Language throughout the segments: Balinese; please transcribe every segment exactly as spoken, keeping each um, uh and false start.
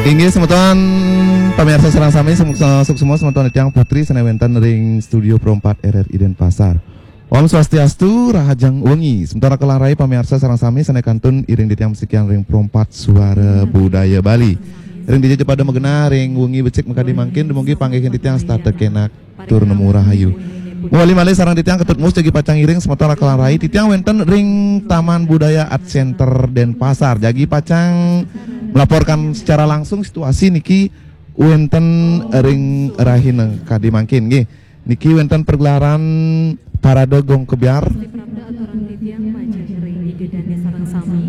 Inggih semeton pamiarsa sareng sami, sum-, suksma semeton titiang putri sane wenten ring Studio Pro empat R R I Denpasar. Om Swastiastu, rahajeng wengi. Sementara kelang rai pamiarsa sareng sami sane kantun iring titiang masikian ring Pro empat Suara Budaya Bali. Ring dija ja pada magenah ring wengi becik makadi mangkin, dumugi panggihin titiang setata kenak tur nemu rahayu. Mawali malih sareng titiang Ketut Mus jagi pacang ngiring semeton kelang rai. Titiang wenten ring Taman Budaya Art Center Denpasar. Jagi pacang melaporkan secara langsung situasi niki wenten ring rahina kadi mangkin nggih. Niki wenten pergelaran parade gong kebyar. Prabda aturan titiang majeng ring Ida Dane sareng sami,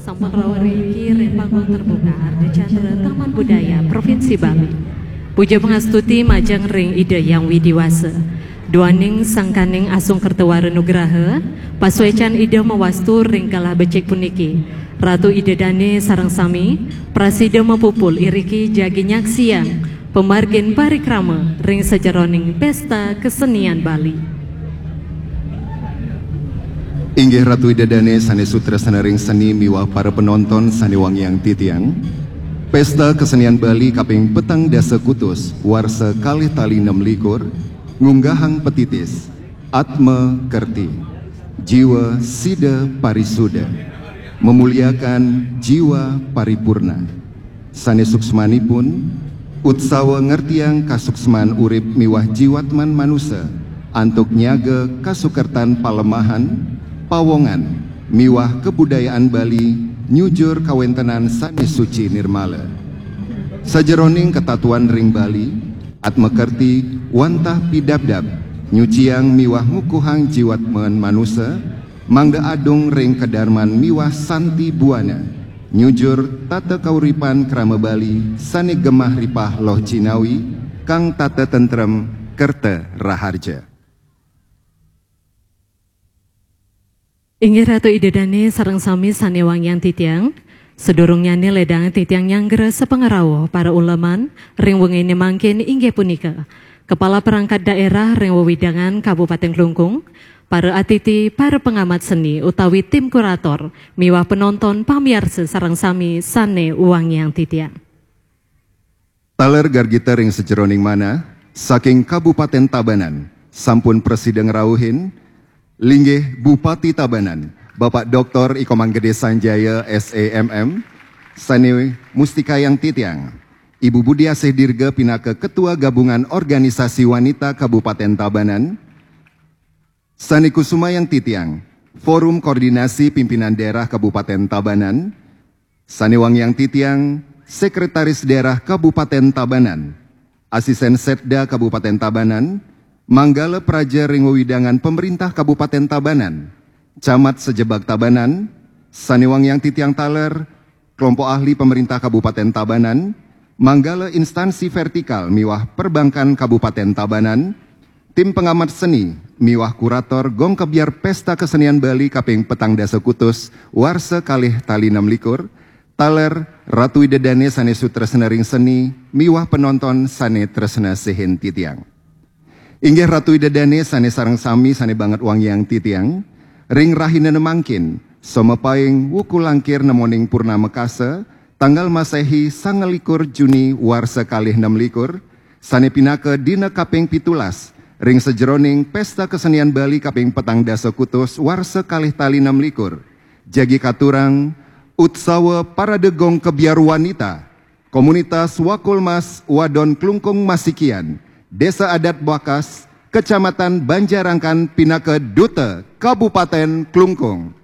sampun rauh riki ring panggung terbuka Ardha Candra Taman Budaya Provinsi Bali. Puja pangastuti majeng ring Ida Hyang Widi Wasa. Duaning sangkaning asung kerta wara nugraha, pasuecan Ida mawastu ring galah becik puniki. Ratu Ida Dane sareng sami, prasida mapupul iriki jagi nyaksiang pamargin parikrama ring sajeroning Pesta Kesenian Bali. Inggih Ratu Ida Dane sane sutresna ring seni miwah para penonton sane wangiang titiang. Pesta Kesenian Bali kaping petang dasa kutus warsa kalih tali nem likur ngunggahang petitis Atma Kerti, Jiwa Sida Parisuda, memuliakan jiwa paripurna. Sane suksmanipun, utsawa ngertiang kasuksman urip miwah jiwatman manusa, antuk nyaga kasukertan palemahan, pawongan, miwah kabudayaan Bali nyujur kawentenan sane suci nirmala. Sajeroning katatuan ring Bali, Atma Kerti wantah pidabdab, nyuciang miwah ngukuhang jiwatman manusa, mangda adung ring kadarman miwah santi buana, nyujur tata kauripan krama Bali sane gemah ripah loh jinawi, kang tata tentrem kerta raharja. Inggih Ratu Ida Dane sareng sami sane wangiang titiang, sadurungnyane ledang titiang nyanggra sapangrauh para uleman ring wengine mangkin inggih punika Kepala Perangkat Daerah ring wewidangan Kabupaten Klungkung, para atiti, para pengamat seni utawi tim kurator, miwah penonton pamiarsa sareng sami sane wangiang titiang. Taler gargita ring sajeroning manah, saking Kabupaten Tabanan, sampun prasida ngrauhin, linggih Bupati Tabanan, Bapak Doktor I Komang Gede Sanjaya, S E M M, sane mustikayang titiang, Ibu Budiasih Dirga pinaka Ketua Gabungan Organisasi Wanita Kabupaten Tabanan, sane kusumayang titiang, Forum Koordinasi Pimpinan Daerah Kabupaten Tabanan, sane wangiang titiang, Sekretaris Daerah Kabupaten Tabanan, Asisten Setda Kabupaten Tabanan, manggala praja ring wewidangan pemerintah Kabupaten Tabanan, camat sajebag Tabanan, sane wangiang titiang taler, kelompok ahli pemerintah Kabupaten Tabanan, manggala instansi vertikal miwah perbankan Kabupaten Tabanan, tim pengamat seni miwah kurator gong kebyar Pesta Kesenian Bali kaping petang dasa kutus warsa kalih tali nem likur, taler Ratu Ida Dane sane sutresna ring seni miwah penonton sane tresna sihin titiang. Inggih Ratu Ida Dane sane sareng sami sane banget wangiang titiang, ring rahinane mangkin, somepaing wuku langkir nemoning purnama kasa, tanggal Masehi sangalikur Juni warsa kalih nem likur, sane pinaka dina kaping pitulas ring sajeroning Pesta Kesenian Bali kaping petang dasa kutus warsa kalih tali nem likur, jagi katurang Utsawa Parade Gong Kebyar Wanita, Komunitas Wakulmas Wadon Klungkung Masikian, Desa Adat Bakas, Kecamatan Banjarangkan pinaka Duta Kabupaten Klungkung.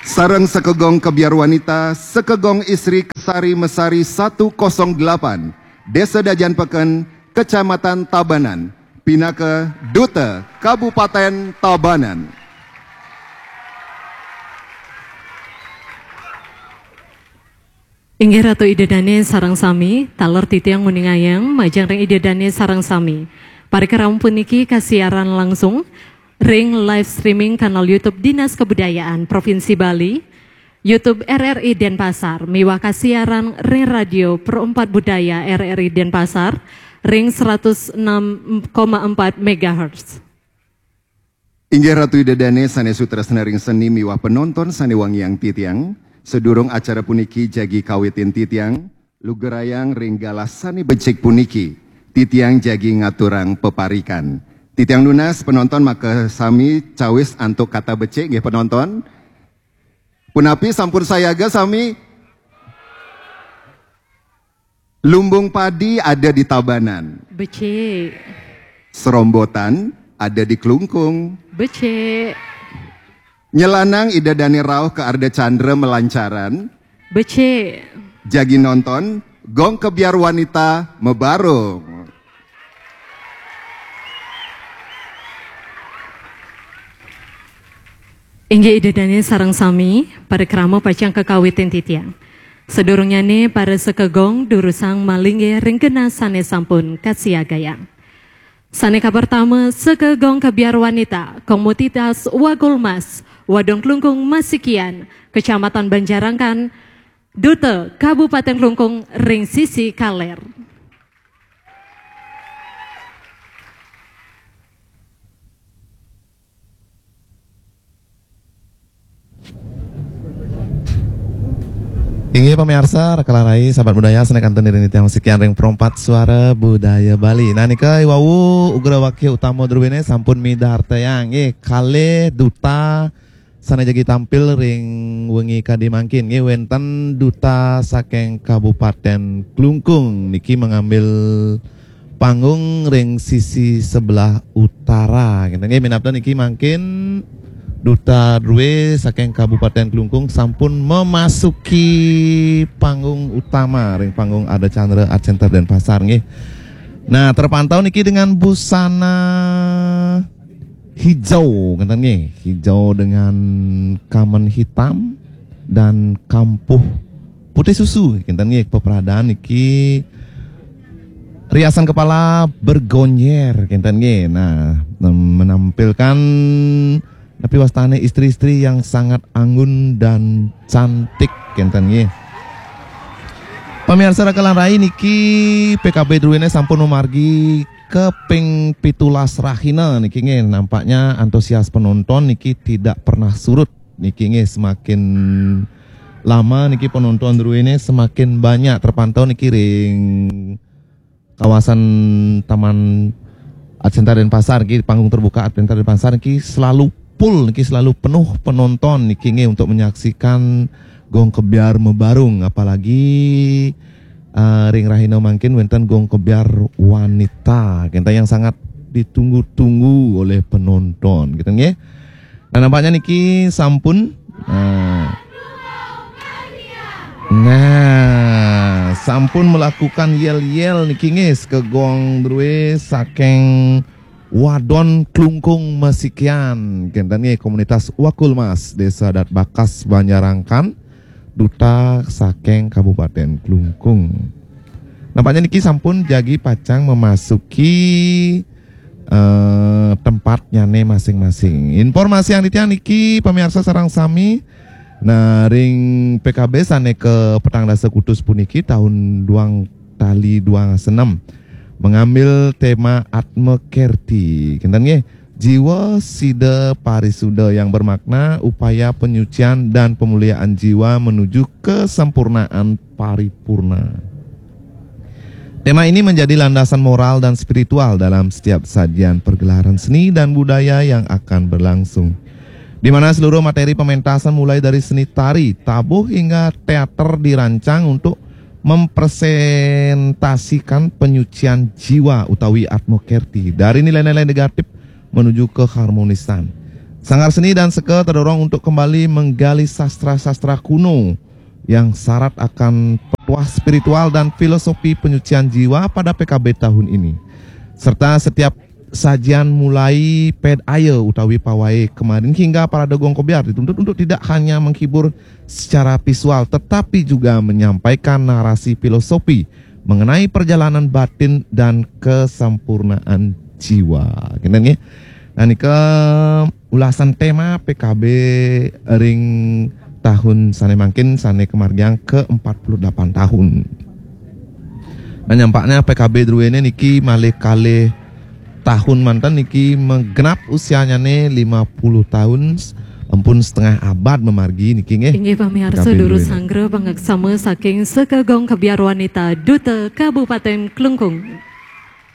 Sareng Sekegong Kebyar Wanita, Sekegong Istri Sari Mesari satu kosong delapan, Desa Dajan Peken, Kecamatan Tabanan, pinaka Duta Kabupaten Tabanan. Inggih Ratu Ida Dane sareng sami, taler titiang nguningayang majeng ring Ida Dane sareng sami. Parikrama puniki kasiaran langsung ring live streaming kanal YouTube Dinas Kebudayaan Provinsi Bali, YouTube R R I Denpasar, miwah kasiaran ring Radio Pro empat Budaya R R I Denpasar ring seratus enam koma empat megahertz. Inggih Ratu Ida Dane sane sutresna ring seni miwah penonton sane wangiang titiang, Sadurung acara puniki jagi kawitin titiang, lugrayang ring galah sane becik puniki, titiang jagi ngaturang peparikan. Titiang nunas penonton makasami cawis antuk kata becik nggih penonton. Punapi sampun sayaga sami? Lumbung padi ada di Tabanan. Becik. Serombotan ada di Klungkung. Becik. Nyelanang Ida Dane rauh ke Arda Chandra melancaran. Becik. Jagi nonton, Gong Kebyar Wanita mebarung. Inggih Ida Dane sareng sami, parikrama pacang kakawitin titiang. Sadurungnyane para sekegong durusang malinggih ring genah sane sampun kasiagayang. Sane kapertama, sekegong kebyar wanita, komunitas Wagul Mas, Wadon Klungkung Masikian, Kecamatan Banjarangkan, Duta Kabupaten Klungkung ring sisi kaler. Inggih pamiarsa, raka lan rai, sahabat budaya, sane kantun iring titiang sikian ring Perempat Suara Budaya Bali. Nah, nika iwau ugra wakil utama druene sampun midartayang. Nggih, kalih duta sane jagi tampil ring wengi kadi mangkin. Nggih, wenten duta saking Kabupaten Klungkung niki mengambil panggung ring sisi sebelah utara. Kenten nggih, minabda niki mangkin duta drue saking Kabupaten Klungkung sampun memasuki panggung utama ring panggung Arda Chandra Art Center Denpasar nggih. Nah, terpantau niki dengan busana hijau, kenten nggih, hijau dengan kamen hitam dan kampuh putih susu, kenten nggih, peperadaan niki riasan kepala bergonjer, kenten nggih. Nah, menampilkan napi wastane istri-istri yang sangat anggun dan cantik, kenten nggih. Pamiarsa raka lan rai, niki P K B druene sampun mamargi kaping pitulas rahina niki nggih. Nampaknya antusias penonton niki tidak pernah surut niki nggih, semakin lama niki penonton druene semakin banyak terpantau niki ring kawasan Taman Art Center Denpasar niki, panggung terbuka Art Center Denpasar niki selalu full niki, selalu penuh penonton niki nggih untuk menyaksikan gong kebyar mebarung, apalagi eh, ring rahina mangkin wenten gong kebyar wanita, kenten yang sangat ditunggu-tunggu oleh penonton, gitu nggih. Nah, nampaknya niki sampun. Nah. Nah, sampun melakukan yel-yel niki nggih, sekegong drue saking Wadon Klungkung Masikian, kenten nggih, komunitas Wakulmas, Desa Adat Bakas, Banjarangkan, duta saking Kabupaten Klungkung. Nampaknya niki sampun jagi pacang memasuki eh, tempatnyane masing-masing. Informasi yang titiang niki pamiarsa sareng sami. Nah, ring P K B sane ke petang dasa kutus puniki tahun duang tali duang senem mengambil tema Atma Kerti. Kenten nggih, jiwa sida parisuda yang bermakna upaya penyucian dan pemuliaan jiwa menuju kesempurnaan paripurna. Tema ini menjadi landasan moral dan spiritual dalam setiap sajian pergelaran seni dan budaya yang akan berlangsung, di mana seluruh materi pementasan mulai dari seni tari, tabuh hingga teater dirancang untuk mempresentasikan penyucian jiwa utawi Atma Kerti dari nilai-nilai negatif menuju keharmonisan. Sanggar Seni dan Seka terdorong untuk kembali menggali sastra-sastra kuno yang syarat akan petuah spiritual dan filosofi penyucian jiwa pada P K B tahun ini. Serta setiap sajian mulai ped aya utawi pawai kemarin hingga parade gong kebyar dituntut untuk tidak hanya menghibur secara visual tetapi juga menyampaikan narasi filosofi mengenai perjalanan batin dan kesempurnaan jiwa. Kenten nggih. Nah, nika ulasan tema P K B ring tahun sane mangkin sane kamargiang ke empat puluh delapan tahun. Nah, nyampaknya P K B druene niki malih kalih tahun manten niki magenap usianyane lima puluh tahun. Ampun setengah abad mamargi niki nggih. Inggih pamiarsa, Kabin durus Ruin. Anggra pangaksama saking Sekagong Kebiar Wanita Duta Kabupaten Klungkung.